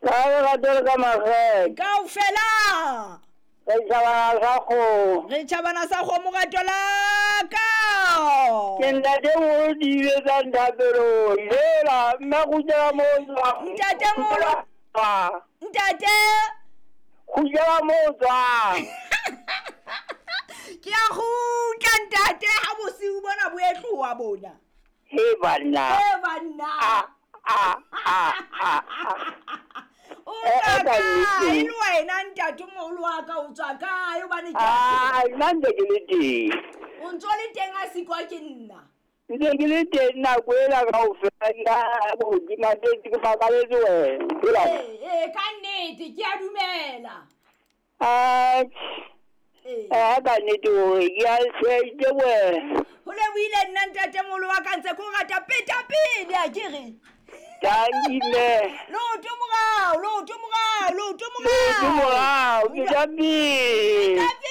Ka lerato le ka makgethe. Kaofela. Re tjhabana sa kgomo. Re tjhabana sa kgomo rato la ka. Ke ntate moholo di etsang thapelong. Hela mme kgutlela mo o tswang. Ntate moholo. Ntate. Kgutlela mo o tswang. Ke a kgutla ntate ha bosiu bona bo etloha bona. He banna. He banna. A a a a. O tswa kae le wena ntate moholo wa ka o tswa kae hobane ke a nna ntse ke le teng. O ntso le teng a sikwa ke nna. Ntse ke le teng nako ena kaofela nka hodima teng ke makaletse wena. Ee, ka nnete ke a dumela. Atjhe. Ee, ka nnete hore ke a se wena. Ho lebohile nna ntatemoholo wa ka ntse ke o rata peta pele a ke re. Tanki mme. Leoto morao, leoto morao, leoto morao. Leoto morao, peta pele. Peta pele.